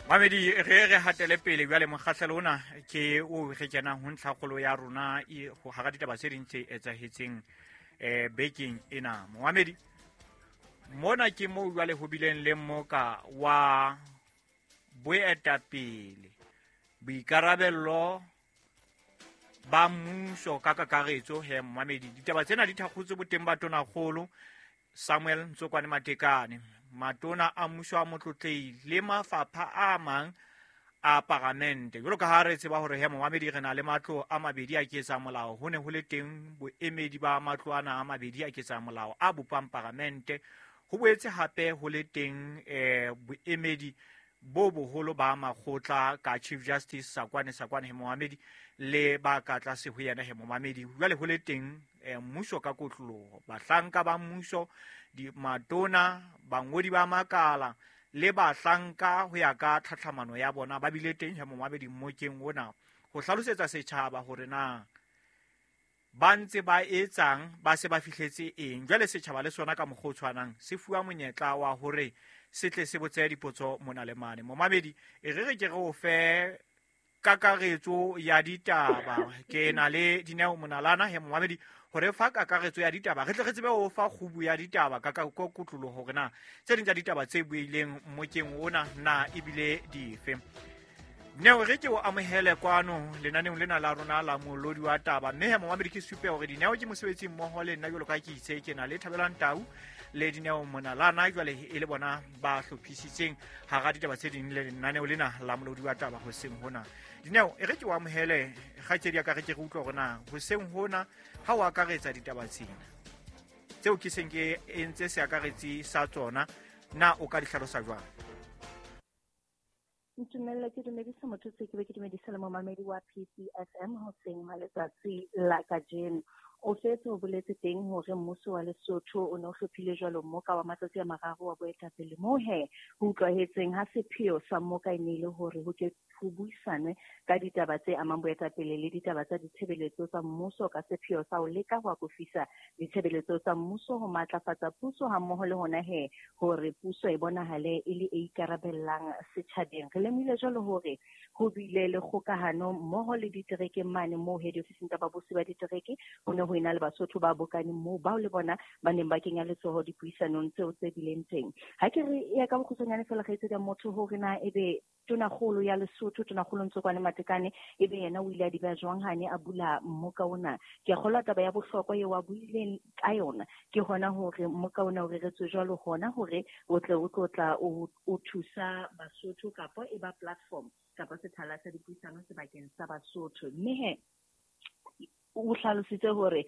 Mamedi, re hatele pele jwale. Mokgahlelo ona ke o re kenang ho ntlhakgolo ya rona ho hara ditaba tse ding tse etsahetseng bekeng ena. Momamedi, mona ke moo jwale ho bileng le mmoka wa boetapele, boikarabello ba mmuso ka kakaretso. He momamedi, ditaba tsena di thakgotswe boteng ba Tonakgolo Samuel Ntsokwane Matekane, matona a mmuso a motlotlei le mafapha a mang a paramente. Jwalo ka ha re tseba hore he momamedi, re na le matlo a mabedi a ketsa molao, ho ne ho le teng boemedi ba matlo ana a mabedi a ketsa molao a bopang paramente. Ho boetse hape ho le teng boemedi bo boholo ba makgotla ka Chief Justice Sakwane Sakwane, he momamedi, le ba ka tlase ho yena. He momamedi, jwale ho le teng mmuso ka kotloloho, bahlanka ba mmuso, matona, bangodi ba makala le bahlanka ho ya ka tlhatlhamano ya bona ba bile teng he momamedi mmokeng ona ho hlalosetsa setjhaba hore na ba ntse ba etsang, ba se ba fihletse eng. Jwale setjhaba le sona ka mokgwa o tshwanang se fuwa monyetla wa hore se tle se botse dipotso mona le mane. Momamedi, e re re ke re o fe kakaretso ya ditaba. Ke na le Dineo Monalana, he momamedi, hore fa kakaretso ya ditaba re tle re tsebe ho fa kgubu ya ditaba ka kotloloho hore na tse ding tsa ditaba tse buileng mmokeng ona na ebile dife. Dineo, re ke o amohele kwano lenaneong lena la rona la Molodi wa Taba. Mme he momamedi, ke supe hore Dineo ke mosebetsi mmoho le nna. Jwalo ka ke itse, ke na le Thabelang Tau le Dineo Monalana, jwale e le bona ba hlophisitseng hara ditaba tse ding le lenaneo lena la Molodi wa Taba hoseng hona. Dineo, e re ke o amohele, kgaitsedi ya ka, re ke re utlwe hore na hoseng hona ha o akaretsa ditaba tsena tseo ke seng ke entse seakaretsi sa tsona, na o ka di hlalosa jwang? Ntumelle ke dumedise motho se ke be ke dumedise le momamedi wa PCFM hoseng ha letsatsi la kajeno. O setse o boletse teng hore mmuso wa Lesotho o ne o hlophile jwalo mmoka wa matsatsi a mararo wa boetapele, moo he ho utlwahetseng ha sepheo sa mmoka e ne e le hore ho ke ho buisanwe ka ditaba tse amang boetapele le ditaba tsa ditshebeletso tsa mmuso, ka sepheo sa ho leka ho akofisa ditshebeletso tsa mmuso, ho matlafatsa puso hammoho le hona he hore puso e bonahale e le e ikarabellang setjhabeng. Re lemohile jwalo hore ho bile le kgokahano mmoho le diterekeng mane moo he diofising tsa babusi ba ditereke ho ne ho ena le Basotho ba bokaneng moo, bao le bona ba neng ba kenya letsoho dipuisanong tseo tse bileng teng. Ha ke re ya ka bokgutshwanyane fela, kgaitsedi ya motho, hore na ebe Tonakgolo ya Lesotho, Tonakgolo Ntsokwane Matekane, ebe yena o ile a di beha jwang ha ne a bula mmoka ona. Ke a kgolwa taba ya bohlokwa eo a buileng ka yona ke hona hore mmoka ona o reretswe jwalo hona hore o tle o tlo tla o thusa Basotho, kapa e ba platform kapa sethala sa dipuisano sebakeng sa Basotho. Mme he o hlalositse hore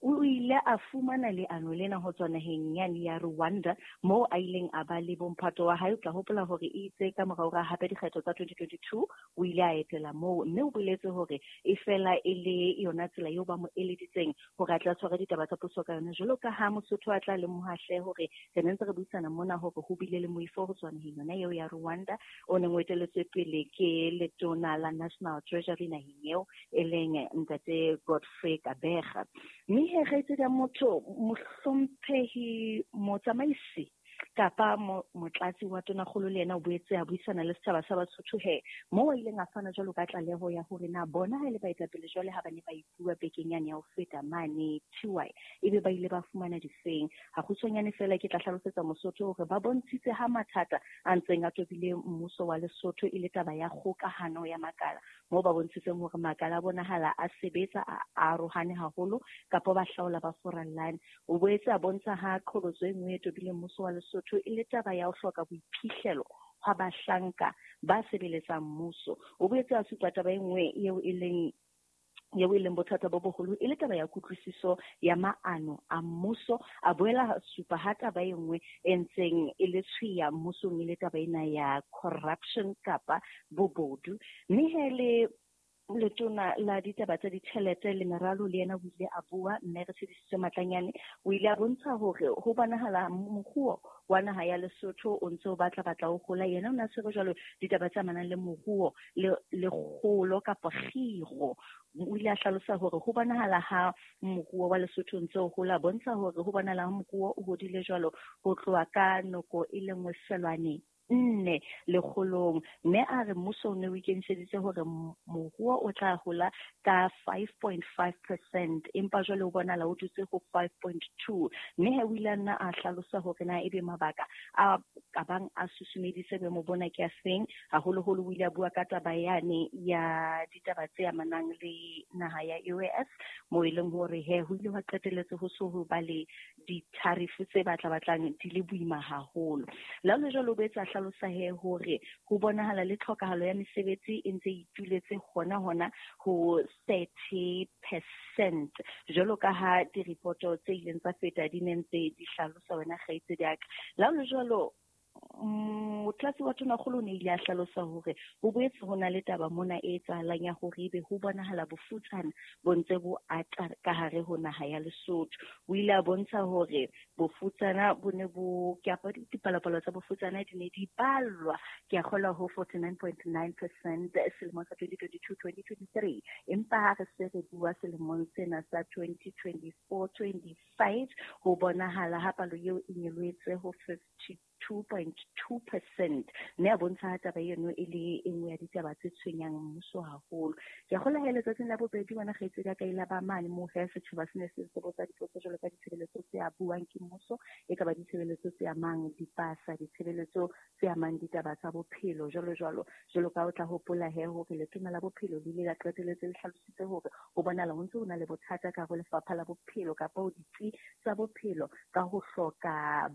o ile a fumana leano lena ho tswa naheng yane ya Rwanda, moo a ileng a ba le bomphato wa hae. O tla hopola hore itse ka morao ra hape dikgetho tsa 2022 o ile a etela moo, mme o boletse hore e fela e le yona tsela eo ba mo eleditseng hore a tla tshwara ditaba tsa puso ka yona. Jwalo ka ha Mosotho a tla lemoha hle hore re ne ntse re buisana mona hore ho bile le moifo ho tswa naheng yona eo ya Rwanda, o neng o eteletswe pele ke letona la National Treasury naheng eo, e leng ntate Godfrey Kabega. Mme he, kgaitsedi ya motho, mohlomphehi motsamaisi kapa motlatsi wa Tonakgolo le yena o boetse a buisana le setjhaba sa Basotho, he moo a ileng a fana jwalo ka tlaleho ya hore na bona ha e le baetapele jwale ha ba ne ba ipua bekeng yane ya ho feta mane TY, ebe ba ile ba fumana difeng. Ha kgutshwanyane fela ke tla hlalosetsa Mosotho hore ba bontshitse ha mathata a ntseng a tobile mmuso wa Lesotho e le taba ya kgokahano ya makala, moo ba bontshitseng hore makala a bonahala a sebetsa a arohane haholo kapa ba hlaola ba furallane. O boetse a bontsha ha qholotso e nngwe e tobileng mmuso wa Lesotho e le taba ya ho hloka boiphihlelo hwa bahlanka ba sebeletsang mmuso. O boetse a supa taba e nngwe eo e leng bothata bo boholo e le taba ya kutlwisiso ya maano a mmuso. A boela supa ha taba e nngwe e ntseng e le tshweya mmusong e le taba ena ya corruption kapa bobodu. Mme he le letona la ditaba tsa ditjhelete le meralo le yena o ile a bua, mme re tshedisitswe Matlanyane. O ile a bontsha hore ho bonahala moruo wa naha ya Lesotho o ntse o batla o hola. Yena o ne a tshwere jwalo ditaba tse amanang le moruo le kgolo kapa kgiro. O ile a hlalosa hore ho bonahala ha moruo wa Lesotho o ntse o hola, bontsha hore ho bonahala ha moruo o hodile jwalo ho tloha ka noko e le nngwe feelwane. 4 lekgolong, mme a re mmuso o ne o ikemiseditse hore moruo o tla hola ka 5.5%, empa jwale o bonahala o dutse ho 5.2. Mme he o ile a nna a hlalosa hore na ebe mabaka a ka bang a susumeditse boemo bona ke a feng. Haholoholo o ile a bua ka taba yane ya ditaba tse amanang le naha ya US, moo e leng hore he ho ile hwa qetelletse ho so ho ba le di-tariff tse batla-batlang di le boima haholo. Le ha ho le jwalo, o boetse a hlalosa he hore ho bonahala le tlhokahalo ya mesebetsi e ntse e ituletse hona ho 30%, jwalo ka ha diripoto tse ileng tsa feta di ne ntse di hlalosa wena kgaitsedi ya ka. Le ha ho le jwalo, motlatsi wa tonakgolo o ne ile a hlalosa hore ho boetse ho na le taba mona e etsahalang ya hore ebe ho bonahala bofutsana bo ntse bo ata ka hare ho naha ya Lesotho. O ile a bontsha hore bofutsana bo ne bo, ke a dipalopalo tsa bofutsana di ne di ballwa, ke a kgolwa ho 49.9% selemong sa 2022-2023, empa ha re se re bua selemong sena sa 2024-25 ho bonahala ha palo eo e nyolohetse ho 52.2%, mme a bontsha taba eno e le e nngwe ya ditaba tse tshwenyang mmuso haholo. Ke a kgolwa he letsatsing la bobedi wena kgaitsedi ya ka ile ba mane moo he setjhaba se ne se botsa dipotso jwalo ka ditshebeletso tse abuwang ke mmuso, e ka ba ditshebeletso tse amang dipasa, ditshebeletso tse amang ditaba tsa bophelo jwalo jwalo. Jwalo ka o tla hopola he hore letona la bophelo le ile la qetelletse le hlalositse hore ho bonahala ho ntse ho na le bothata ka ho lefapha la bophelo kapa ho ditsi tsa bophelo ka ho hloka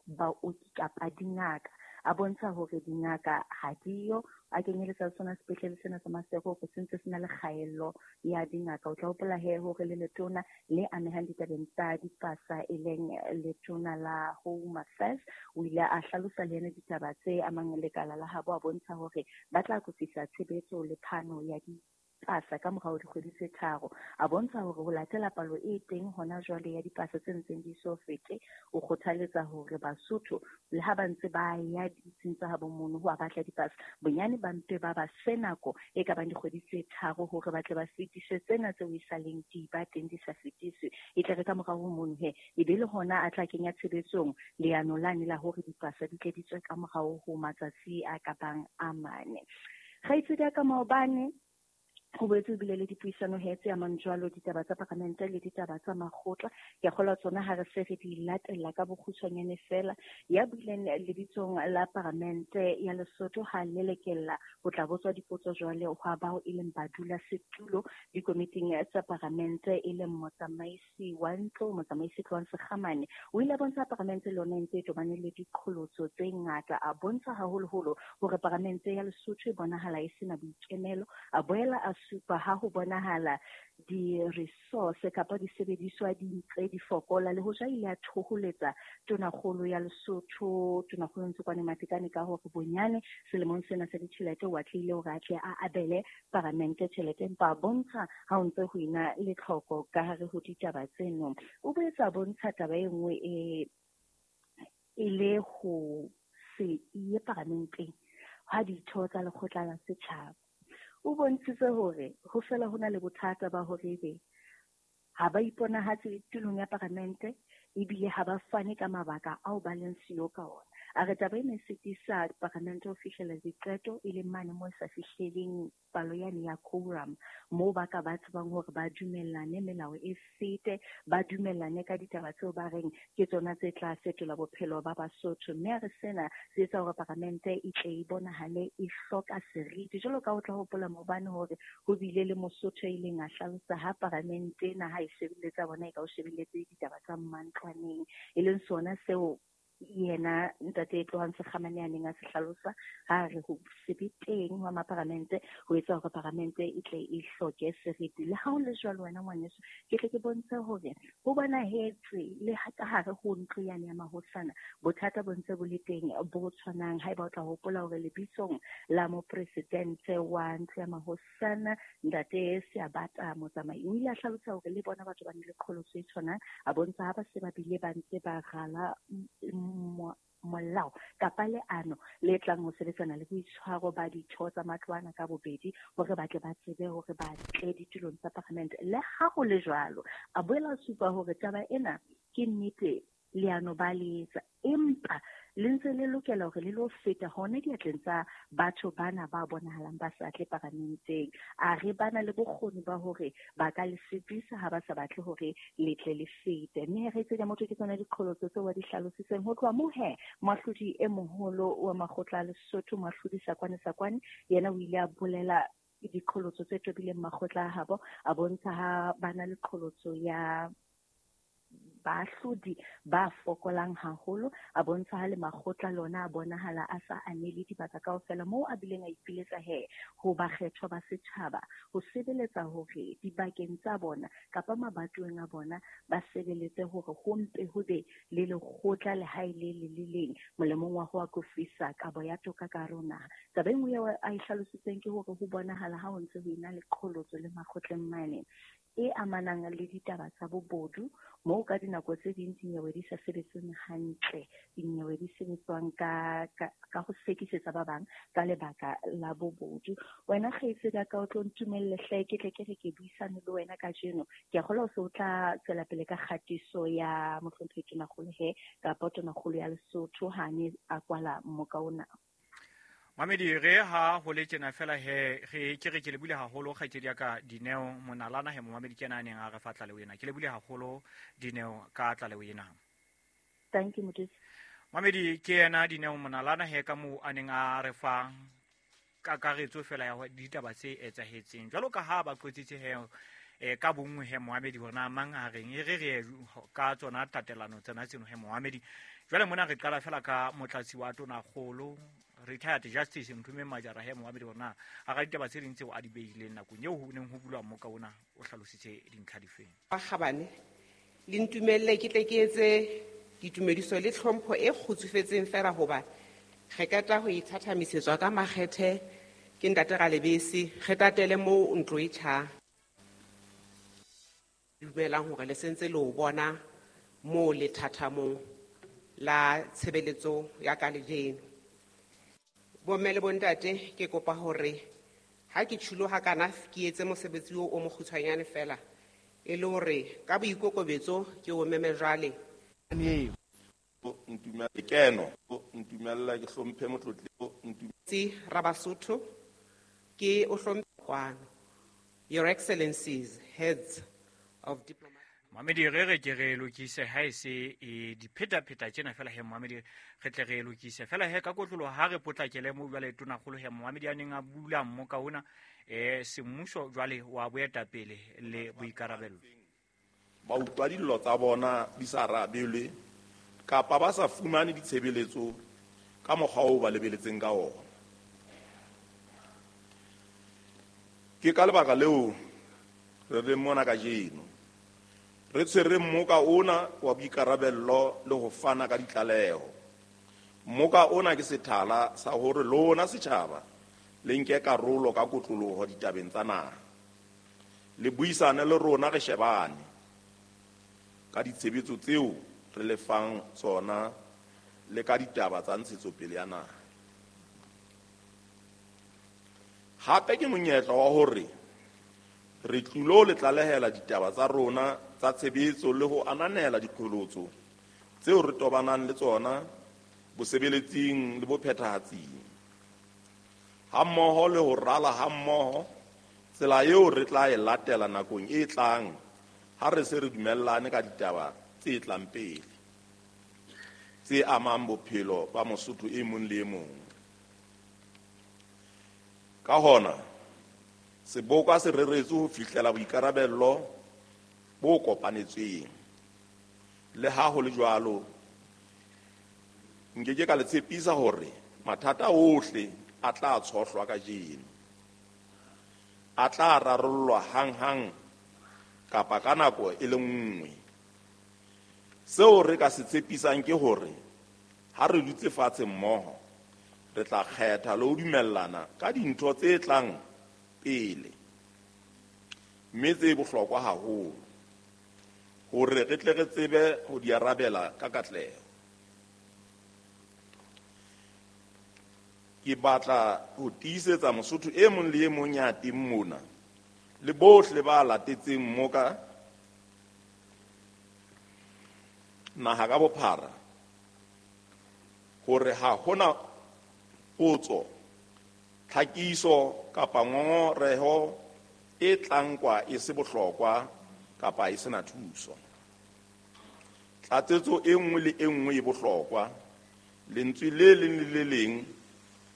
baoki kapa dingaka. A bontsha hore dingaka ha diyo, a kenyeletsa sona sepetlele sena sa Maseru hore se ntse se na le kgaello ya dingaka. O tla hopola he hore le letona le amehang ditabeng tsa dipasa e leng letona la Home Affairs o ile a hlalosa le yena ditaba tse amang lekala la habo, a bontsha hore ba tla akofisa tshebetso le phano ya dipasa ka morao dikgwedi tse 3. A bontsha hore ho latela palo e teng hona jwale ya dipasa tse ntseng di so fete, o kgothaletsa hore Basotho le ha ba ntse ba ya ditsing tsa habo mono ho a batla dipasa, bonyane ba mpe ba ba fe nako e ka bang dikgwedi tse 3 hore ba tle ba fetise tsena tseo e saleng di ba teng di sa fetiswe. E tle re ka morao ho mono he e be le hona a tla kenya tshebetsong leano lane la hore dipasa di tle di tswe ka morao ho matsatsi a ka bang a 4. Kgaitsedi ya ka maobane ho boetse ho bile le dipuisano he tse amang jwalo ditaba tsa paramente le ditaba tsa makgotla. Ke a kgolwa tsona ha re se re di latella ka bokgutshwanyane fela. Ya buileng lebitsong la paramente ya Lesotho ha lelekella ho tla botswa dipotso jwale hwa bao e leng badulasetulo dikomiting tsa paramente e leng motsamaisi wa ntlo, motsamaisi Tloang Sekgamane. O ile a bontsha paramente le yona e ntse e tobane le diqholotso tse ngata. A bontsha haholoholo hore paramente ya Lesotho e bonahala e sena boikemelo. A boela a supa ha ho bonahala di-resource kapa disebediswa di ntse di fokola, le hoja ile a thoholetsa tonakgolo ya Lesotho, tonakgolo Ntsokoane Matekane, ka hore bonyane selemong sena sa ditjhelete o atlehile hore a tle a abele paramente tjhelete, empa a bontsha ha o ntse ho ena le tlhoko ka hare ho ditaba tseno. O boetse a bontsha taba e nngwe e le ho se ye paramenteng ha ditho tsa lekgotla la setjhaba. O bontshitse hore ho fela ho na le bothata ba hore ebe ha ba iponahatse tulong ya paramente ebile ha ba fane ka mabaka ao ba leng siyo ka ona. A re taba ena e sitisa paramente ho fihlela diqeto e leng mane moo e sa fihleleng palo yane ya quorum, moo ba ka ba tsebang hore ba dumellane melao e fete, ba dumellane ka ditaba tseo ba reng ke tsona tse tla fetola bophelo ba Basotho. Mme a re sena se etsa hore paramente e tle e bonahale e hloka seriti. Jwalo ka o tla hopola maobane hore ho bile le Mosotho e ileng a hlalosa ha paramente ena ha e shebeletsa bona e ka o shebeletse ditaba tsa mantlwaneng, e leng sona seo yena ntate Tloang Sekgamane a neng a se hlalosa ha re ho se be teng hwa maparamente ho etsa hore paramente e tle e hloke seriti. Le ha ho le jwalo wena ngwaneso, ke tle ke bontshe hore ho bonahetse le ka hare ho ntlo yane ya mahosana bothata bo ntse bo le teng bo tshwanang. Haeba o tla hopola hore lebitsong la mopresidente wa ntlo ya mahosana ntate Seabata Motsamai o ile a hlalosa hore le bona batho ba ne le qholotso e tshwanang, a bontsha ha ba se ba bile ba ntse ba rala molao kapa leano le tlang ho sebetsana le boitshwaro ba ditho tsa matlwana ka bobedi hore ba tle ba tsebe hore ba tle ditulong tsa paramente. Le ha ho le jwalo, a boela a supa hore taba ena ke nnete leano ba le etsa, empa le ntse le lokela hore le lo feta hona diatleng tsa batho bana ba bonahalang ba sa tle paramenteng. A re bana le bokgoni ba hore ba ka le sitisa ha ba sa batle hore le tle le fete. Mme re tse motho ke tsona diqholotso tseo wa di hlalositseng. Ho tloha moo he, moahlodi e moholo wa makgotla a Lesotho, moahlodi Sakwane Sakwane, yena o ile a bolela diqholotso tse tobileng makgotla a habo, a bontsha ha bana le qholotso ya baahlodi ba fokolang haholo, a bontsha ha le makgotla lona a bonahala a sa anele dibaka kaofela, moo a bileng a ipiletsa he ho bakgethwa ba setjhaba ho sebeletsa hore dibakeng tsa bona kapa mabatoweng a bona ba sebeletse hore ho mpe ho be le lekgotla le ha e le le le leng molemong wa ho akofisa kabo ya toka ka hare ho naha. Taba e nngwe eo a e hlalositseng ke hore ho bonahala ha ho ntse ho ena le qholotso le makgotleng mane e amanang le ditaba tsa bobodu, moo ka dinako tse ding dinyewe di sa sebetseng hantle, dinyewe di sebetswang ka ho sekisetsa ba bang ka lebaka la bobodu. Wena kgaitsedi ya ka, o tlo ntumelle hle ke tle ke re ke buisane le wena kajeno. Ke a kgolwa o se o tla tswela pele ka kgatiso ya mohlomphehi Tonakgolo he kapa Tonakgolo ya Lesotho ha ne a kwala mmoka ona. Mamedi, re ha ho le tjena fela he re ke re ke lebile haholo kgaitsedi ya ka Dineo Monalana he momamedi ke yena a neng a re fa tlaleho ena. Ke lebile haholo Dineo ka tlaleho ena. Thank you, Mothusi. Mamedi, ke yena Dineo Monalana he ka moo a neng a re fa kakaretso fela ya ditaba tse etsahetseng. Jwalo ka ha ba qotsitse he ka bonngwe he momamedi hore na mang a reng, e re re ka tsona tatelano tsena tseno he momamedi. Jwale mona re qala fela ka motlatsi wa Tonakgolo retired Justice Nthumeng Majara he momamedi hore na a ka ditaba tse ding tseo a di behileng nakong eo ho neng ho bulwa mmoka ona, o hlalositse dintlha difeng. Bakgabane, le ntumelle ke tle ke etse ditumediso le tlhompho e kgutsufetseng fela hoba re qeta ho ithathamisetswa ka makgethe ke ntate Ralebese, re tatele moo ntlo e tjhang. Dumelang hore le sentse le o bona moo lethathamong la tshebeletso ya ka lejeno. Bomme le bontate, ke kopa hore ha ke tsholoha kana ke etse mosebetsi o mokgutshwanyane fela, e le hore ka boikokobetso ke o meme jwale. Ntumelle keno, ntumella ke hlomphe motlotli, ntumetse Rabasotho, ke o hlomphe kwano. Your Excellencies, heads of diplomatic. Mamedi, re re ke re lokise ha e se e diphetapheta tjena fela he momamedi, re tle re lokise fela he ka kotlolo ha re potlakele mo jwale Tonakgolo he momamedi a neng a bula mmoka ona semmuso jwale wa boetapele le boikarabelo. Ba utlwa dillo tsa bona di sa arabelwe kapa ba sa fumane ditshebeletso ka mokgwa oo ba lebeletseng ka ona. Ke ka lebaka leo re leng mona kajeno, re tshwere mmoka ona wa boikarabello le ho fana ka ditlaleho. Mmoka ona ke sethala sa hore lona setjhaba le nke karolo ka kotloloho ditabeng tsa naha, le buisane le rona re shebane ka ditshebetso tseo re le fang tsona le ka ditaba tsa ntshetsopele ya naha. Hape ke monyetla wa hore re tlilo le tlalehela ditaba tsa rona tsa tshebetso le ho ananela diqholotso tseo re tobanang le tsona bosebeletsing le bophethahatsing, hammoho le ho rala hammoho tsela eo re tla e latela nakong e tlang ha re se re dumellane ka ditaba tse tlang pele tse amang bophelo ba Mosotho e mong le e mong. Ka hona, seboka se reretswe ho fihlela boikarabello bo kopanetsweng. Le ha ho le jwalo, nke ke ka le tshepisa hore mathata ohle a tla tshohlwa kajeno, a tla rarollwa hanghang kapa ka nako e le nngwe. Seo re ka se tshepisang ke hore ha re dutse fatshe mmoho, re tla kgetha le ho dumellana ka dintho tse tlang pele, mme tse bohlokwa haholo hore re tle re tsebe ho di arabela ka katleho. Ke batla ho tiisetsa Mosotho e mong le e mong ya teng mona le bohle ba latetseng mmoka naha ka bophara hore ha hona potso, tlhakiso kapa ngongoreho e tla nkwa e se bohlokwa kapa e sena thuso. Tlatsetso e nngwe le e nngwe e bohlokwa, lentswe le leng le le leng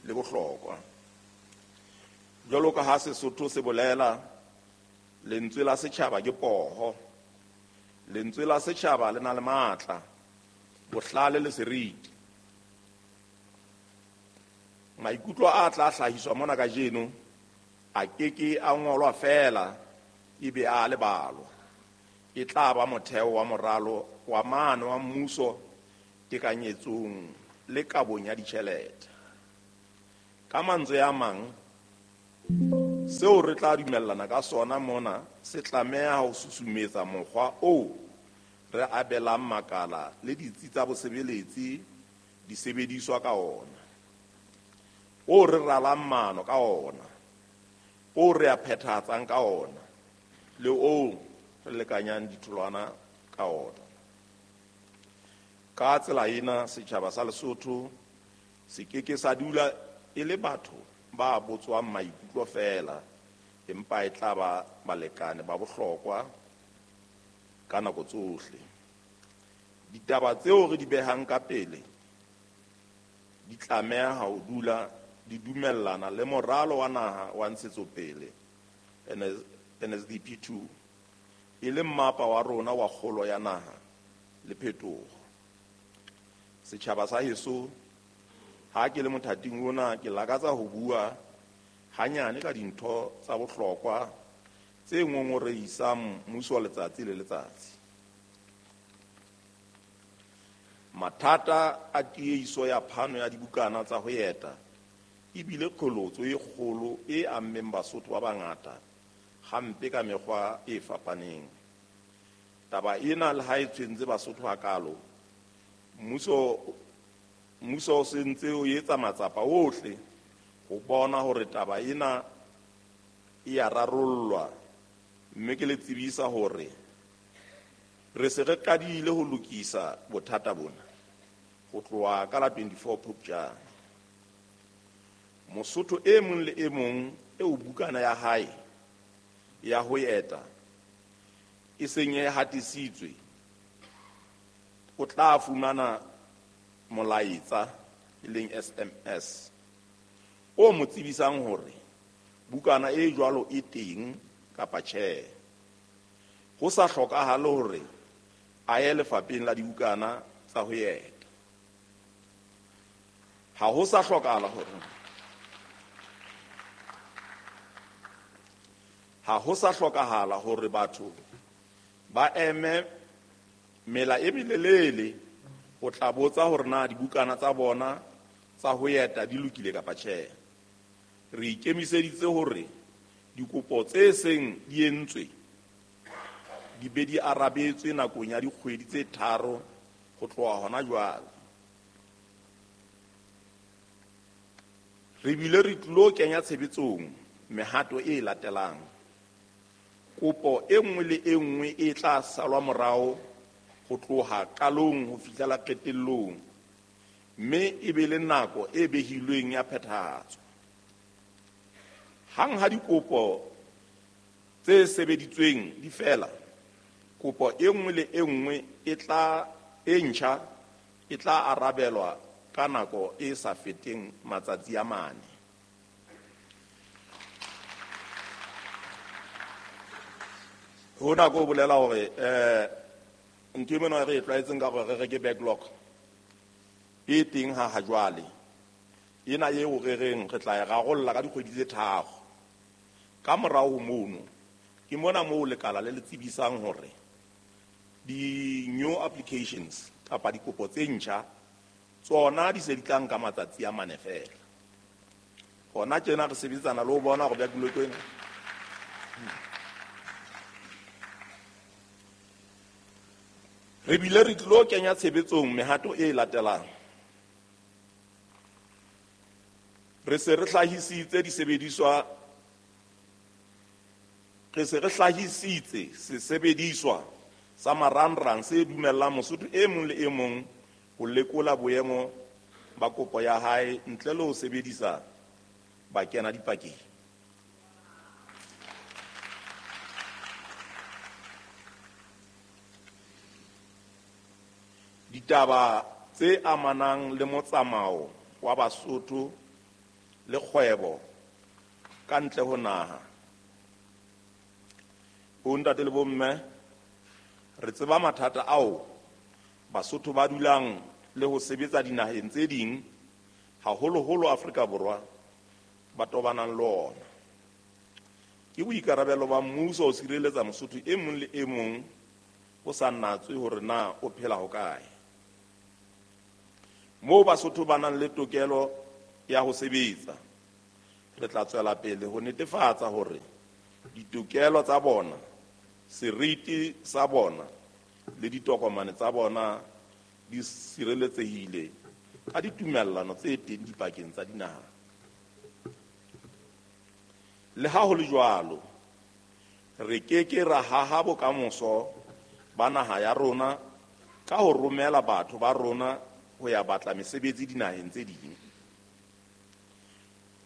le bohlokwa. Jwalo ka ha Sesotho se bolela, lentswe la setjhaba ke poho. Lentswe la setjhaba le na le matla, bohlale le seriti. Maikutlo a tla hlahiswa mona kajeno a keke a ngolwa feela ebe a lebalwa. E tla ba motheo wa moralo wa maano wa mmuso tekanyetsong le kabong ya ditjhelete. Ka mantswe a mang, seo re tla dumellana ka sona mona se tlameha ho susumetsa mokgwa oo re abelang makala le ditsi tsa bosebeletsi disebediswa ka ona, o re ralang maano ka ona, o re a phethahatsang ka ona, le o re lekanyang ditholwana ka ona. Ka tsela ena, setjhaba sa Lesotho se keke sa dula e le batho ba botswang maikutlo feela, empa e tla ba balekane ba bohlokwa ka nako tsohle. Ditaba tseo re di behang ka pele di tlameha ho dula di dumellana le moralo wa naha wa ntshetsopele NSDP 2, e leng mmapa wa rona wa kgolo ya naha le phetoho. Setjhaba sa heso, ha ke le mothating ona, ke lakatsa ho bua hanyane ka dintho tsa bohlokwa tse ngongorehisang mmuso letsatsi le letsatsi. Mathata a tiehiso ya phano ya dibukana tsa ho eta ebile qholotso e kgolo e ammeng Basotho ba bangata hampe ka mekgwa e fapaneng. Taba ena le ha e tshwentse Basotho hakalo, mmuso o se ntse o etsa matsapa ohle ho bona hore taba ena e a rarollwa, mme ke le tsebisa hore re se re qadile ho lokisa bothata bona ho tloha ka la 24 Phupjane. Mosotho e mong le e mong eo bukana ya hae ya ho eta e seng e hatisitswe o tla fumana molaetsa, e leng SMS, o mo tsebisang hore bukana e jwalo e teng kapa tjhe. Ho sa hlokahale hore a ye lefapheng la dibukana tsa ho eta. Ha ho sa hlokahala hore ha ho sa hlokahala hore batho ba eme mela e melelele ho tla botsa hore na dibukana tsa bona tsa ho eta di lokile kapa tjhe. Re ikemiseditse hore dikopo tse seng di entswe di be di arabetswe nakong ya dikgwedi tse 3 ho tloha hona jwale. Re bile re tlilo kenya tshebetsong mehato e latelang. Kopo e nngwe le e nngwe e tla salwa morao ho tloha qalong ho fihlela qetellong, mme e be le nako e behilweng ya phethahatso. Hang ha dikopo tse sebeditsweng di fela, kopo e nngwe le e nngwe e ntjha e tla arabelwa ka nako e sa feteng matsatsi a 4. Hona ko bolela hore ntho e mona re e tlwaetseng ka hore re reke backlog e teng ha jwale. Ena eo re reng re tla e rarolla ka dikgwedi tse 3. Ka morao ho mono ke mona moo lekala le le tsebisang hore di-new applications kapa dikopo tse ntjha tsona di se di tla nka matsatsi a 4 feela. Hona tjena re sebetsana le ho bona hore backlog ena. Re bile re tlilo kenya tshebetsong mehato e latelang. Re se re hlahisitse disebediswa, re se re hlahisitse sesebediswa sa marangrang se dumellang Mosotho e mong le e mong ho lekola boemo ba kopo ya hae ntle le ho sebedisa bakena dipakeng. Ditaba tse amanang le motsamao wa Basotho le kgwebo ka ntle ho naha. Bontate le bomme, re tseba mathata ao Basotho ba dulang le ho sebetsa dinaheng tse ding, haholoholo Afrika Borwa, ba tobanang le ona. Ke boikarabelo ba mmuso ho sireletsa Mosotho e mong le e mong ho sa natswe hore na o phela hokae. Moo Basotho ba nang le tokelo ya ho sebetsa, re tla tswela pele ho netefatsa hore ditokelo tsa bona, seriti sa bona le ditokomane tsa bona di sireletsehile ka ditumellano tse teng dipakeng tsa dinaha. Le ha ho le jwalo, re ke ke ra haha bokamoso ba naha ya rona ka ho romela batho ba rona ho ya batla mesebetsi dinaheng tse ding.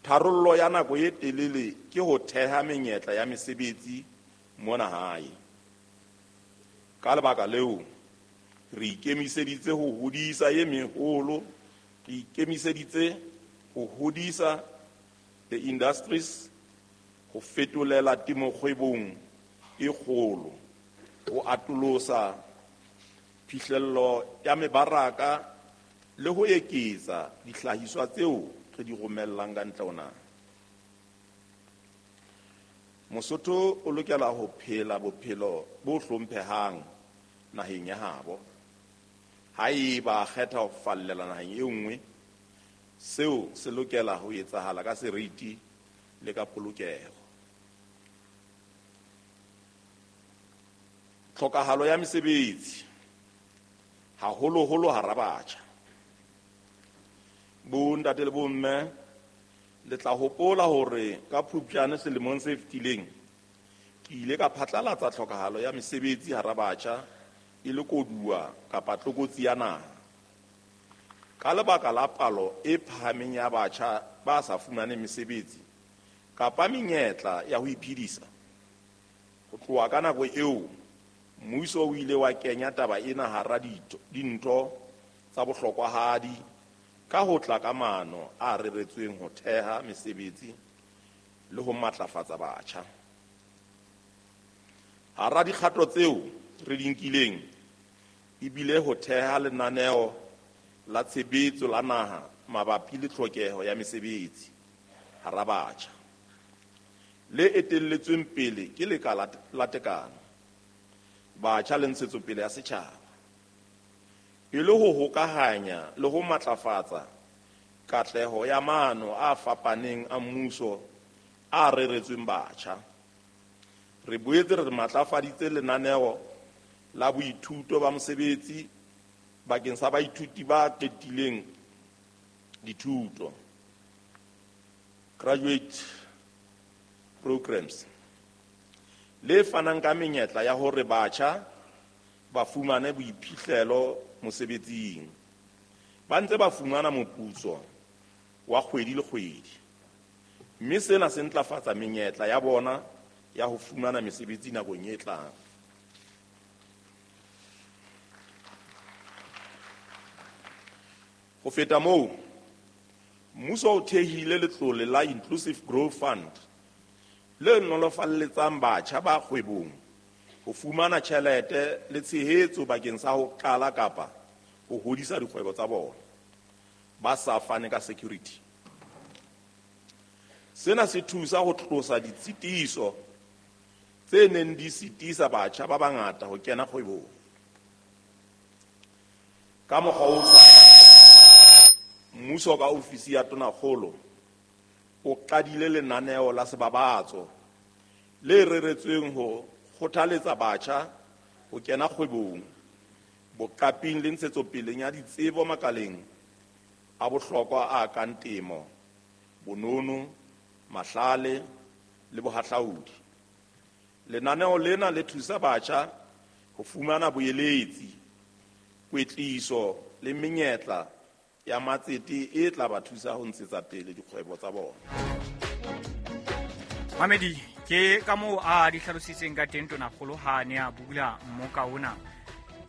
Tharollo ya nako e telele ke ho theha menyetla ya mesebetsi mona hae. Ka lebaka leo, re ikemiseditse ho hodisa e meholo, re ikemiseditse ho hodisa the industries, ho fetolela temo kgwebong e kgolo, ho atolosa phihlello ya mebaraka le ho eketsa dihlahiswa tseo re di romellang ka ntle ho naha. Mosotho o lokela ho phela bophelo bo hlomphehang naheng ya habo. Haeba a kgetha ho fallela naheng e nngwe, seo se lokela ho etsahala ka seriti le ka polokeho. Tlhokahalo ya mesebetsi, haholoholo hara batjha. Bontate le bomme, le tla hopola hore ka Phupjane selemong se fetileng ke ile ka phatlalatsa tlhokahalo ya mesebetsi hara batjha e le koduwa kapa tlokotsi ya naha. Ka lebaka la palo e phahameng ya batjha ba sa fumaneng mesebetsi kapa menyetla ya ho iphedisa, ho tloha ka nako eo mmuso o ile wa kenya taba ena hara dintho tsa bohlokwahadi ka ho tla ka maano a reretsweng ho theha mesebetsi le ho matlafatsa batjha. Hara dikgato tseo re di nkileng ebile ho theha lenaneo la tshebetso la naha mabapi le tlhokeho ya mesebetsi hara batjha, le etelletsweng pele ke Lekala la Tekano, Batjha le Ntshetsopele ya Setjhaba, e le ho hokahanya le ho matlafatsa katleho ya maano a fapaneng a mmuso a reretsweng batjha. Re boetse re matlafaditse lenaneo la boithuto ba mosebetsi bakeng sa baithuti ba qetileng dithuto, graduate programs, le fanang ka menyetla ya hore batjha ba fumane boiphihlelo mosebetsing, ba ntse ba fumana moputso wa kgwedi le kgwedi, mme sena se ntlafatsa menyetla ya bona ya ho fumana mesebetsi nakong e tlang. Ho feta moo, mmuso o thehile letlole la Inclusive Growth Fund le nolofalletsang batjha ba kgwebong ho fumana tjhelete le tshehetso bakeng sa ho qala kapa ho hodisa dikgwebo tsa bona ba sa fane ka security. Sena se thusa ho tlosa ditshitiso tse neng di sitisa batjha ba bangata ho kena kgwebong. Ka mokgwa o tshwanang, mmuso ka ofisi ya Tonakgolo o qadile lenaneo la sebabatso le reretsweng ho kgothaletsa batjha ho kena kgwebong, boqaping le ntshetsopeleng ya ditsebo makaleng a bohlokwa a kang temo, bonono, mahlale le bohahlaudi. Lenaneo lena le thusa batjha ho fumana boeletsi, kwetliso le menyetla ya matsete e tla ba thusa ho ntshetsa pele dikgwebo tsa bona. Mamedi, ke ka moo a di hlalositseng ka teng tonakgolo ha a ne a bula mmoka ona.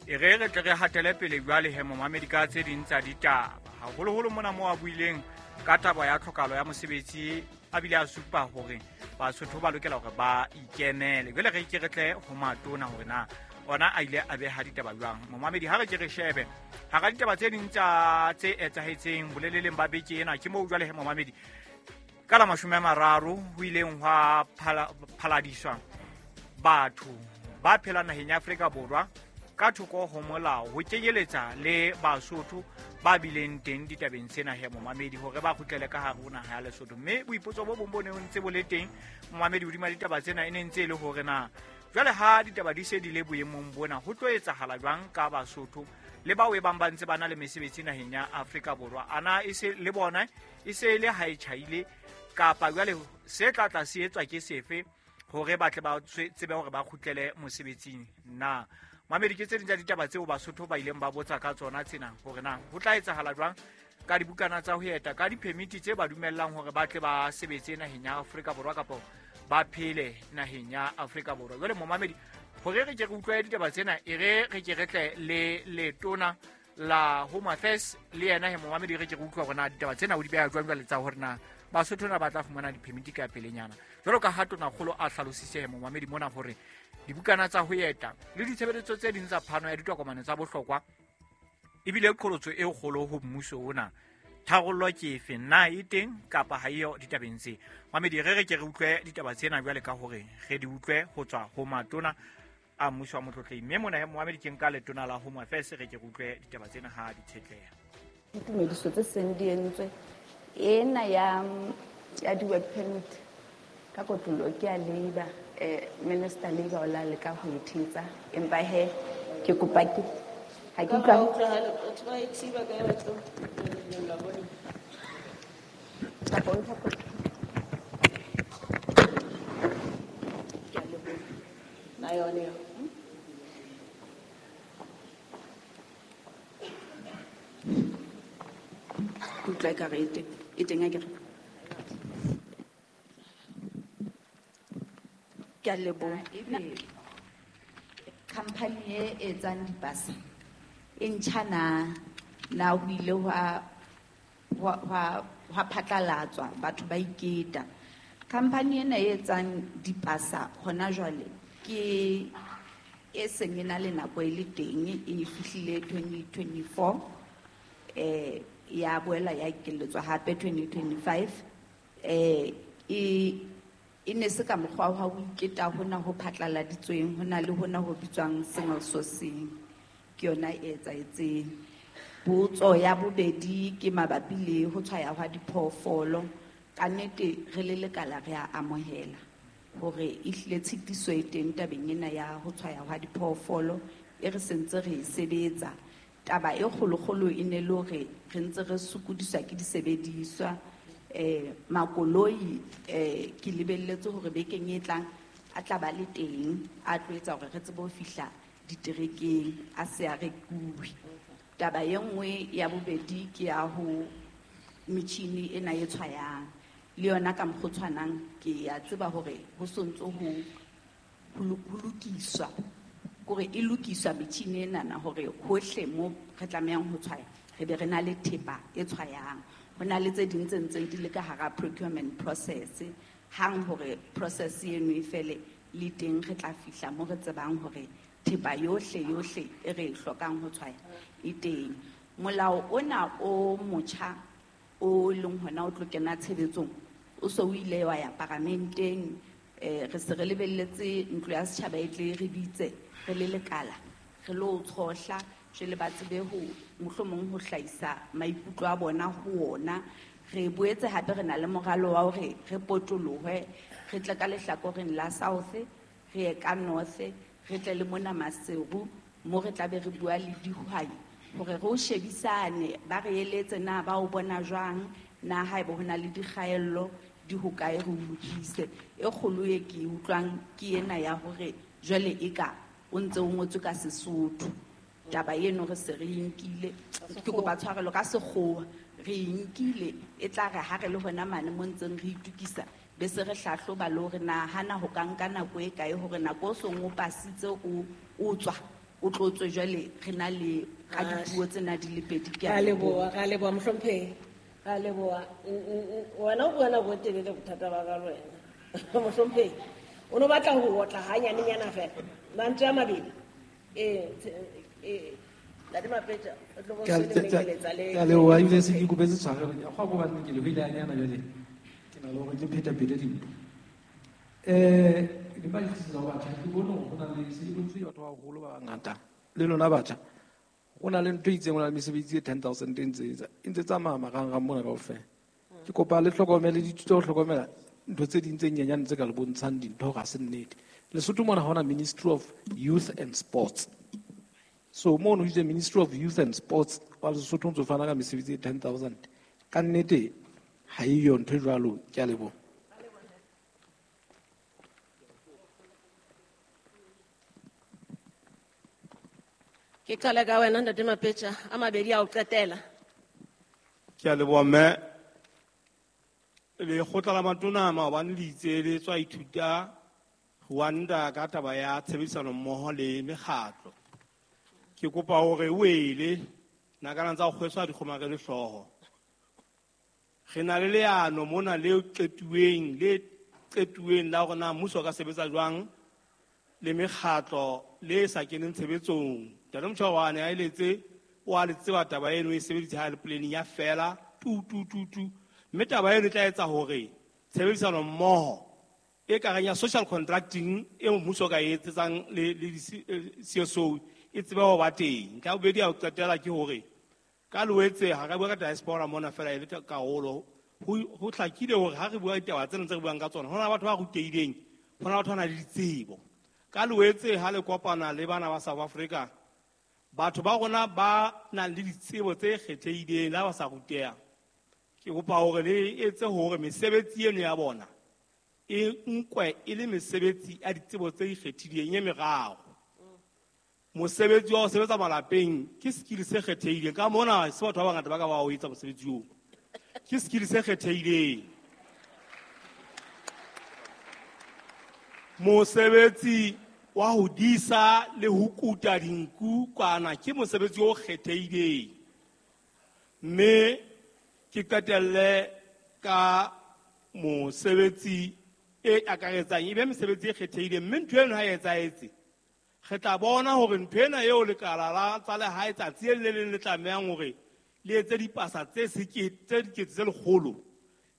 E re re tle re hatele pele jwale he momamedi ka tse ding tsa ditaba. Haholoholo mona moo a buileng ka taba ya tlhokahalo ya mosebetsi, a bile a supa hore Basotho ba lokela hore ba ikemele. Jwale re ke re tle ho matona hore na ona a ile a beha ditaba jwang. Momamedi, ha re ke re shebe hara ditaba tse ding tsa tse etsahetseng boleleleng ba beke ena, ke moo jwale he momamedi ka la 30 ho ileng hwa phaladiswa batho ba phelang naheng ya Afrika Borwa ka thoko ho molao, ho kenyeletsa le Basotho ba bileng teng ditabeng tsena he momamedi, hore ba kgutlele ka hare ho naha ya Lesotho. Mme boipotso bo bong bo ne ntse bo le teng momamedi hodima ditaba tsena e ne ntse e le hore na jwale ha ditaba di se di le boemong bona ho tlo etsahala jwang ka Basotho le bao e bang ba ntse ba na le mesebetsi naheng ya Afrika Borwa. Ana e se le bona e se e le ha e tjhaile, kapa jwale se tla tla se etswa ke sefe hore ba tle ba tsebe hore ba kgutlele mosebetsing na? Mamedi, ke tse ding tsa ditaba tseo Basotho ba ileng ba botsa ka tsona tsena, hore na ho tla etsahala jwang ka dibukana tsa ho eta, ka diphemiti tse ba dumellang hore ba tle ba sebetse naheng ya Afrika Borwa kapa ba phele naheng ya Afrika Borwa. Jwale momamedi, hore re ke re utlwe ditaba tsena, e re re ke re tle le letona la Home Affairs le yena he momamedi, re ke re utlwa hore na ditaba tsena o di beha jwang jwale tsa hore na Basotho na ba tla fumana diphemiti ka pelenyana. Jwalo ka ha tonakgolo a hlalositse he momamedi mona hore dibukana tsa ho eta le ditshebeletso tse ding tsa phano ya ditokomane tsa bohlokwa ebile qholotso e kgolo ho mmuso ona. Tharollo ke efe, na e teng kapa ha eyo ditabeng tse? Mamedi, re re ke re utlwe ditaba tsena jwale ka hore re di utlwe ho tswa ho matona a mmuso wa motlotlehi. Mme mona he momamedi, ke nka letona la Home Affairs, re ke re utlwe ditaba tsena ha di tshetleha. Ditumediso tse seng di entswe ena ya di-work permit ka kotloloho ke ya Labour, Minister Labour o la leka ho e thetsa, empa he ke kopa ke ha ke utlwa ke utlwa ekare e teng akere. Ke a leboha. Company e etsang dipasa e ntjha na ho ile hwa phatlalatswa, batho ba iketa. Company ena e etsang dipasa hona jwale ke e seng e na le nako e le teng, e fihlile 2024, ya boela ya ekeletswa hape 2025. E ne se ka mokgwa wa ho iketa hona ho phatlaladitsweng, hona le hona ho bitswang single sourcing, ke yona e etsahetseng. Potso ya bobedi ke mabapi le ho tshwaya hwa diphoofolo. Ka nnete re le lekala re a amohela hore ehlile tshitiso e teng tabeng ena ya ho tshwaya hwa diphoofolo, e re sentse re e sebetsa. Taba e kgolokgolo e ne le hore re ntse re sokodiswa ke disebediswa, makoloi, ke lebelletse hore bekeng e tlang a tla ba le teng, a tlo etsa hore re tsebe ho fihla diterekeng, a se a rekuwe. Taba e nngwe ya bobedi ke ya ho metjhini ena e tshwayang, le yona ka mokgwa o tshwanang ke a tseba hore ho sontso ho lokiswa, kore e lokiswa metjhini enana hore hohle mo re tlamehang ho tshwaya re be re na le thepa e tshwayang. Ho na le tse ding tse ntseng di le ka hara procurement process, hang hore process eno e fele le teng re tla fihla mo re tsebang hore thepa yohle yohle e re e hlokang ho tshwaya e teng. Molao ona o motjha o leng hona o tlo kena tshebetsong o so o ile wa ya paramenteng, re se re lebelletse ntlo ya setjhaba e tle re bitse re le lekala re lo tshohla, jwale ba tsebe ho mohlomong ho hlahisa maikutlo a bona ho ona. Re boetse hape re na le moralo wa hore re potolohe, re tle ka lehlakoreng la South, re ye ka North, re tle le mona Maseru mo re tla be re bua le dihwai hore re o shebisane, ba re eletse na ba o bona jwang, na haeba ho na le dikgaello di hokae re o lokise. E kgolo e ke utlwang ke ena ya hore jwale e ka o ntse o ngotswe ka Sesotho. Taba eno re se re nkile ke kopa tshwarelo ka sekgowa re nkile e tla re ha re le hona mane mo ntseng re itukisa be se re hlahloba le hore na hana ho ka nka nako e kae hore nako o song o pasitse o tswa o tlo tswe jwale re na le ka dipuo tsena di le pedi. Ke a leboha, ra leboha mohlomphehi, ra leboha. Wena o bua nako e telele bothata ba ka le wena mohlomphehi o no batla ho otla hanyanenyana fela mantswe a mabedi. Ntate Mapetja o tlo bo selemeletsa le ke a leboha ebile se ke ikopetse tshwarelo ke a kgwa ko banne ke le hoile hanyana jwale ke na le hore ke phetaphethe dintho. Ke ba itse ho batjha ke bone hore ho na le se ke bontse batho ba baholo ba bangata le lona batjha ho na le ntho e itseng ho na le mesebetsi e 10,000 e ntse tsamaya marangrang mona kaofela. Ke kopa le hlokomele dithuto ho hlokomela ntho tse ding tse nyenyane tse ka le bontshang dintho hore ha se nnete. Lesotho mona ha hona Ministry of Youth and Sports. So mono itse Ministry of Youth and Sports wa Lesotho ntse fana ka mesebetsi e 10,000. Ka nnete ha e yo ntho e jwalo. Ke a leboha. Ke qale ka wena Ntate Mapetja a mabedi a o qetela. Ke a leboha mme. Lekgotla la matona maobane le itse le tswa ithuta Rwanda ka taba ya tshebedisano mmoho le mekgatlo. Ke kopa hore o ele nakana tsa ho kgweswa dikgomarele hlooho. Re na le leano mona le qetuweng la hore na mmuso o ka sebetsa jwang le mekgatlo le sa keneng tshebetsong. Ntate Motjhawane a eletse o a le tseba taba eno e sebeditse ha le planning ya fela tu tu tu tu. Mme taba eno e tla etsa hore tshebedisano mmoho e kareng ya social contracting e mmuso ka e etsetsang le CSO e tsebe ho ba teng. Ntlha ya bobedi ya ho qetela ke hore ka Loetse ha re bua ka diaspora mona fela e le karolo ho hlakile hore ha re bua ditaba tsena tse re buang ka tsona ho na le batho ba rutehileng, ho na le batho ba nang le ditsebo. Ka Loetse ha le kopana le bana ba South Africa batho ba rona ba nang le ditsebo tse kgethehileng la ba sa ruteha ke kopa hore le etse hore mesebetsi eno ya bona e nkwe e le mesebetsi ya ditsebo tse ikgethileng e meraro. Mosebetsi wa ho sebetsa malapeng ke skill se kgethehileng ka mona se batho ba bangata ba ka ba o etsa mosebetsi oo ke skill se kgethehileng. Mosebetsi wa ho disa le ho kuta dinku kwana ke mosebetsi o kgethehileng. Mme ke qetelle ka mosebetsi e akaretsang e be mesebetsi e kgethehileng mme ntho eno ha e etsahetse re tla bona hore ntho ena eo lekala la tsa lehae tsatsi le leng le tlamehang hore le etse dipasa tse dikete tse lekgolo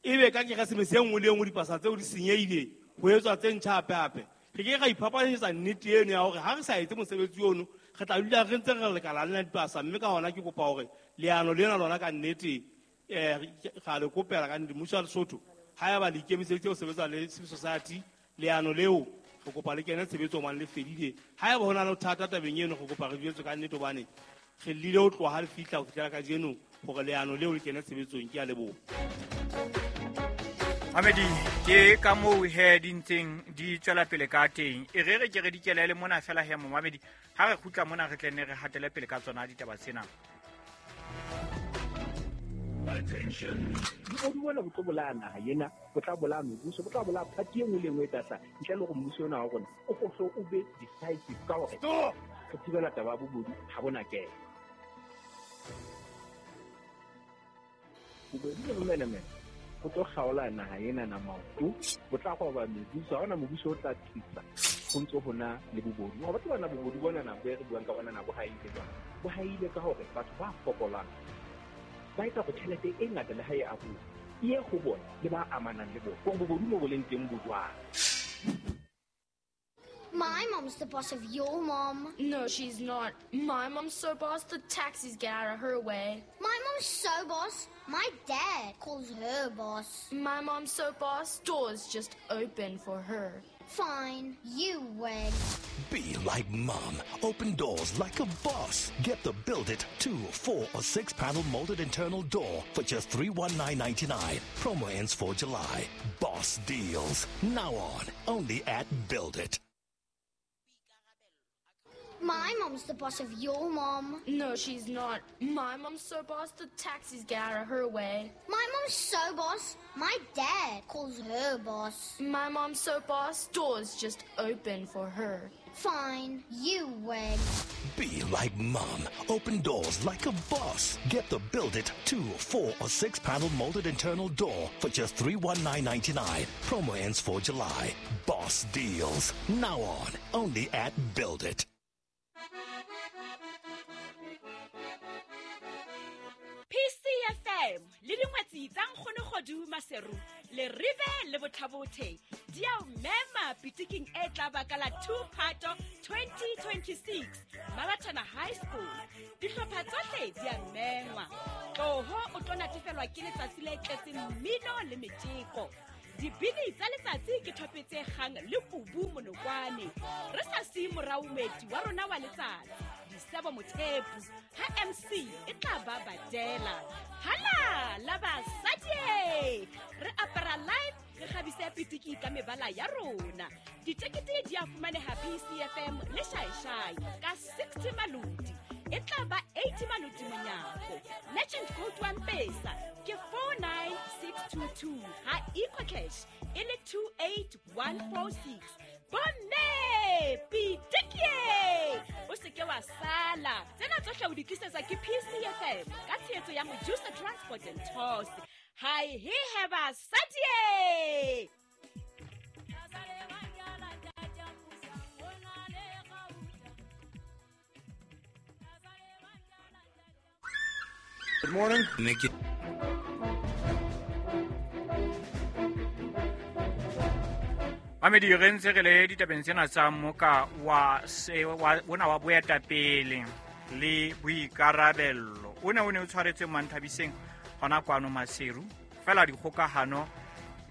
ebe ka Keresemese e nngwe le e nngwe dipasa tseo di senyehile ho etswa tse ntjha hape-hape. Re ke ra iphapanyetsa nnete eno ya hore ha re sa etse mosebetsi ono re tla dula re ntse re lekala lena dipasa mme ka hona ke kopa hore leano lena lona ka nnete ra le kopela ka nnete mmuso wa Lesotho haeba le ikemiseditse ho sebetsa le civil society leano leo re kopa le kene tshebetsong hobane le fedile. Haeba ho na le thata tabeng eno re kopa re jwetswe ka nnete hobane re llile ho tloha ha le fihla ho fihlela kajeno hore leano leo le kene tshebetsong. Ke a leboha. Mamedi ke ka moo he di ntseng di tswela pele ka teng. E re re ke re dikelele mona fela he momamedi ha re kgutla mona re tle nne re hatele pele ka tsona ditaba tsena. Attention. Bobodu bona bo tlo bolaya naha ena, bo tla bolaya mebuso, bo tla bolaya party e nngwe le e nngwe e tlasa ntle le hore mmuso ona wa rona o hlo o be decisive ka hore re thibela taba ya bobodu ha bona kena. Bobodu le bomenemene bo tlo kgaola naha ena na maoto, bo tla roba mebuso, ha hona mobuso o tla tlisa ho ntso hona le bobodu. Wa batho bana bobodu bona na bo re buang ka bona na bo haile jwang? Bo haile ka hore batho ba fokolang ba etsa hore tjhelete e ngata le ha e abuwa e ye ho bona le ba amanang le bona. Hore bobodu mo bo leng teng bo jwang. My mom's the boss of your mom. No, she's not. My mom's so boss, the taxis get out of her way. My mom's so boss, my dad calls her boss. My mom's so boss, doors just open for her. Fine, you win. Be like mom. Open doors like a boss. Get the Build It 2, 4, or 6 panel molded internal door for just $319.99. Promo ends 4 July. Boss deals. Now on. Only at Build It. My mom's the boss of your mom. No, she's not. My mom's so boss, the taxis get out of her way. My mom's so boss, my dad calls her boss. My mom's so boss, doors just open for her. Fine, you win. Be like mom. Open doors like a boss. Get the Build It 2, 4, or 6 panel molded internal door for just $319.99. Promo ends 4 July. Boss deals. Now on. Only at Build It. PCFM le dingwetsi tsa Nkgono Kgodu Maseru le Rive le Bothabothe di a o mema pitiking e tla baka la 2 Phato 2026 Mabatana High School. Dihlopha tsohle di a mengwa. Tloho o tlo natefelwa ke letsatsi le tletseng mmino le metjeko. Dibini tsa letsatsi ke thope tse kgang le kubu monokwane. Re sa siye morao moeti wa rona wa letsatsi, Disebo Mothepu, ha MC e tla ba badela. Hala la basadi! Re apara live, re kgabise pitiki ka mebala ya rona. Ditekete di a fumaneha PCFM le Shaishai ka 60 maloti. E tla ba 80 maloti monyako. Merchant code wa M-Pesa ke 49622 ha EcoCash e le 28146. Bomme pitikie! O se ke wa sala. Tsena tsohle o di tlisetsa ke PCFM ka tshehetso ya Mojusa Transport and Tours. Hi he he basadi! Good morning. Nikki. Mamedi re ntse re le ditabeng tsena tsa moka wa ona wa boetapele le boikarabello. O ne o tshwaretswe Manthabiseng hona kwano Maseru. Fela dikgokahano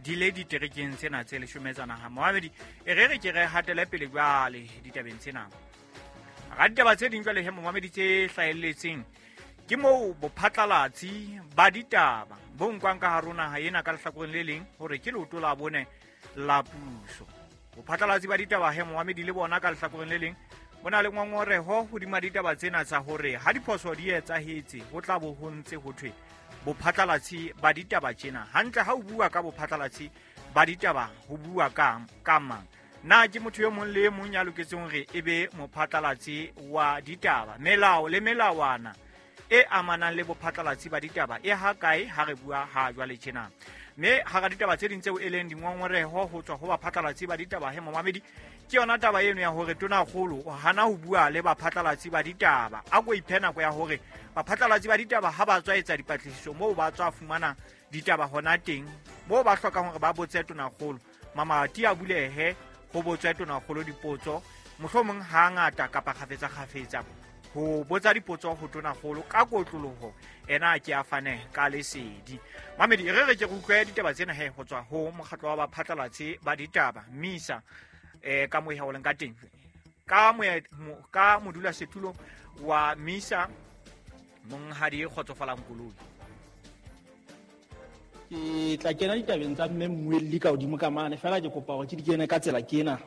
di le diterekeng tsena tse 10 tsa naha. Mamedi e re re ke re hatele pele jwale ditabeng tsena. Ga ditaba tse ding jwale he momamedi tse hlahelletseng ke moo bophatlalatsi ba ditaba bo nkwang ka hare ho naha ena ka lehlakoreng le leng hore ke leoto la bone la puso. Bophatlalatsi ba ditaba he momamedi le bona ka lehlakoreng le leng bo na le ngongoreho hodima ditaba tsena tsa hore ha diphoso di etsahetse ho tla bo ho ntse ho thwe bophatlalatsi ba ditaba tjena. Hantle ha o bua ka bophatlalatsi ba ditaba ho bua ka mang? Na ke motho yo mong le e mong ya loketseng hore e be mophatlalatsi wa ditaba? Melao le melawana e amanang le bophatlalatsi ba ditaba e ha kae ha re bua ha jwale tjena? Mme hara ditaba tse ding tseo e leng dingongoreho ho tswa ho baphatlalatsi ba ditaba he momamedi ke yona taba eno ya hore tonakgolo o hana ho bua le baphatlalatsi ba ditaba. A ko iphe nako ya hore baphatlalatsi ba ditaba ha ba tswa etsa dipatlisiso moo ba tswa fumana ditaba hona teng, moo ba hlokang hore ba botse tonakgolo, mamati a bulehe ho botswe tonakgolo dipotso, mohlomong ha ngata kapa kgafetsa ho botsa dipotso ho tonakgolo ka kotloloho ena ke a fane ka lesedi. Mamedi re re ke utlwe ditaba tsena he ho tswa ho mokgatlo wa baphatlalatsi ba ditaba MISA ka moya o leng ka teng ka modulasetulo wa MISA Monghadi Kgotsofalang Koloi. Ke tla kena ditabeng tsa mme mmuelli ka hodimo ka mane fela ke kopa hore ke di kene ka tsela ke ena.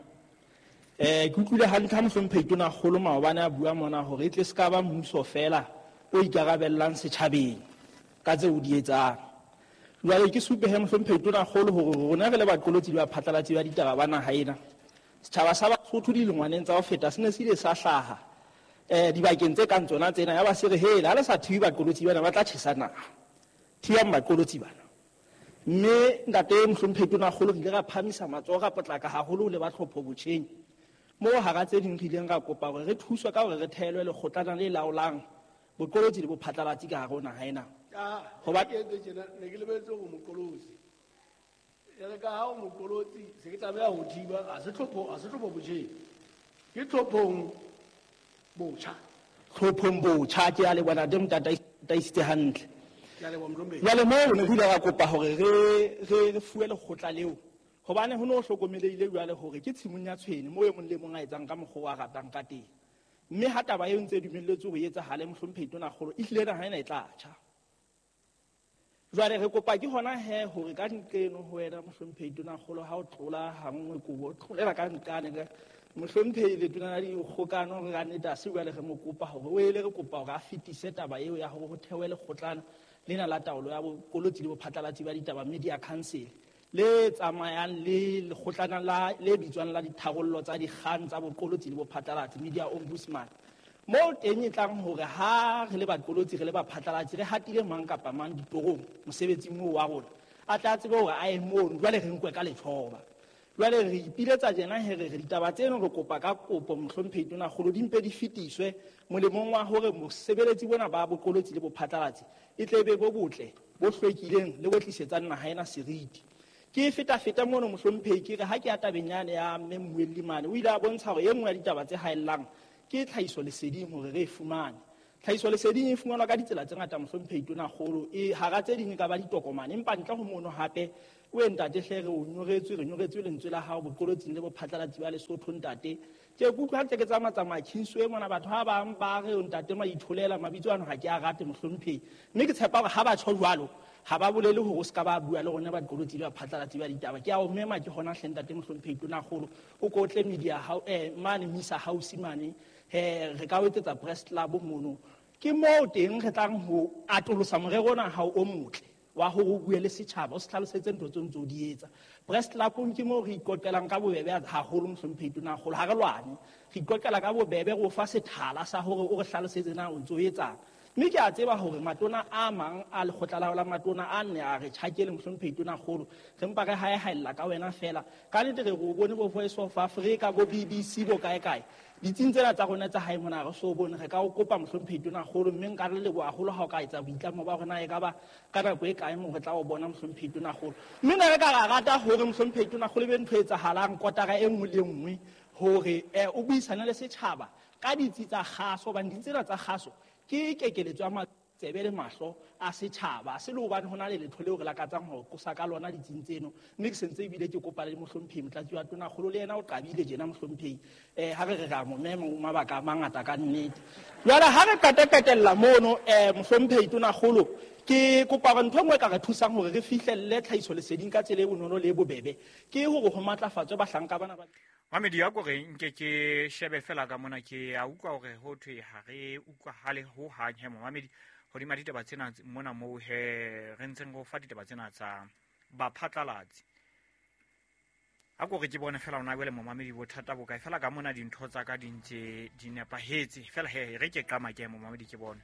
Ke utlwile hantle ha mohlomphehi tonakgolo maobane a bua mona hore e tle se ka ba mmuso fela o ikarabellang setjhabeng ka tseo o di etsang. Jwale ke supe he mohlomphehi tonakgolo hore rona re le baqolotsi le baphatlalatsi ba ditaba ba naha ena, setjhaba sa Basotho dilengwaneng tsa ho feta se ne se ile sa hlaha dibakeng tse kang tsona tsena, ya ba se re hele ha le sa thibe baqolotsi bana ba tla tjhesa naha, thibang baqolotsi bana. Mme ntate mohlomphehi tonakgolo re ile ra phamisa matsoho ra potlaka haholo le ba tlhopho botjheng moo hara tse ding re ileng ra kopa hore re thuswe ka hore re thehelwe lekgotlana le laolang boqolotsi le bophatlalatsi ka hare ho naha ena. Hoba ke entse tjena, ne ke lebetse hore moqolotsi e re ka ha o moqolotsi se ke tlameha ho thiba, ha se tlhopho botjheng, ke tlhophong botjha. Tlhophong botjha, ke a leboha ntate Motataisitse hantle. Jwale moo ne ho ile ra kopa hore re fuwe lekgotla leo hobane ho no hlokomelehile jwale hore ke tshimong ya tshwene moo e mong le mong a etsang ka mokgwa o a ratang ka teng. Mme ha taba eo ntse e dumelletswe ho etsahale mohlomphehi tonakgolo, ehlile naha ena e tla tjha. Jwale re kopa ke hona he hore ka nqeno ho wena mohlomphehi tonakgolo ha o tlola hanngwe kobo o tlolela ka nqane ka mohlomphehi letona la dikgokano re ka nnete ha se jwale re mo kopa hore o ele re kopa hore a fetise taba eo ya hore ho thewe lekgotlana lena la taolo ya boqolotsi le bophatlalatsi ba ditaba media council le tsamayang le lekgotlana la le bitswang la ditharollo tsa dikgang tsa boqolotsi le bophatlalatsi media ombudsman moo teng e tlang hore ha re le baqolotsi re le baphatlalatsi re hatile mang kapa mang ditorong mosebetsing oo wa rona a tla tsebe hore a ye mono jwale re nkwe ka lethoba. Jwale re ipiletsa tjena he re ditaba tseno re kopa ka kopo mohlomphehi tonakgolo di mpe di fetiswe molemong wa hore mosebeletsi bona ba boqolotsi le bophatlalatsi e tle be bo botle bo hlwekileng le bo tlisetsang naha ena seriti. Ke feta-feta mono mohlomphehi ke re ha ke ya tabeng yane ya mme Mmuelli mane o ile a bontsha hore e nngwe ya ditaba tse haellang ke tlhahiso leseding hore re e fumane. Tlhahiso leseding e fumanwa ka ditsela tse ngata mohlomphehi tonakgolo e hara tse ding e ka ba ditokomane empa ntle ho mono hape o ntate hle re o nyoretswe re nyoretswe lentswe la hao boqolotsing le bophatlalatsi ba Lesotho ntate. Ke kutlwa ha ntse ke tsamaya Kingsway mona batho ba bang ba re ntate maitholela mabitso ano ha ke a rate mohlomphehi mme ke tshepa hore ha ba tjho jwalo ha ba bolele hore o ska ba bua le rona baqolotsi le baphatlalatsi ba ditaba. Ke a o mema ke hona hle ntate mohlomphehi tonakgolo o ko tle media mane Misa House mane re ka o etsetsa press club mono ke moo teng re tlang ho atolosa morero ona ha o motle wa hore o bue le setjhaba o se hlalosetse ntho tseo ntse o di etsa. Press club-ong ke moo re iqoqelang ka bobebe haholo mohlomphehi tonakgolo ha re lwane re iqoqela ka bobebe re o fa sethala sa hore o re hlalosetse na o ntse o etsang. Mme ke a tseba hore matona a mang a lekgotla la la matona a nne a re tjhakele mohlomphehi tonakgolo re mpa re haehaella ka wena fela ka nnete re o bone bo Voice of Africa bo BBC bo kae kae ditsing tsena tsa rona tsa hae mona re so bone re ka o kopa mohlomphehi tonakgolo mme nka re leboha haholo ha o ka etsa boitlamo ba rona e ka ba ka nako e kae mo re tla o bona mohlomphehi tonakgolo. Mme ne re ka ra rata hore mohlomphehi tonakgolo e be ntho e etsahalang kotara e nngwe le nngwe hore o buisane le setjhaba ka ditsi tsa kgaso hobane ditsi tsena tsa kgaso ke kekeletso ya matsebe le mahlo a setjhaba se le hobane ho na le letho leo re lakatsang ho qosa ka lona ditsing tseno mme ke sentse ebile ke kopa le mohlomphehi motlatsi wa tonakgolo le yena o qabile tjena mohlomphehi ha re re ra mo mema o mabaka a mangata ka nnete. Jwale ha re qeta-qetella mono mohlomphehi tonakgolo ke kopa hore ntho e nngwe e ka re thusang hore re fihlelle tlhahiso leseding ka tsela e bonolo le e bobebe ke hore ho matlafatswe bahlanka bana ba Mamedi ya kore nke ke shebe fela ka mona ke a utlwa hore ho thwe ha re utlwahale ho hang he momamedi hodima ditaba tsena mona moo he re ntseng go fa ditaba tsena tsa baphatlalatsi. A kore ke bone fela ona jwale momamedi bothata bo kae fela ka mona dintho tsa ka di ntse di nepahetse fela he re ke qama ke momamedi ke bone.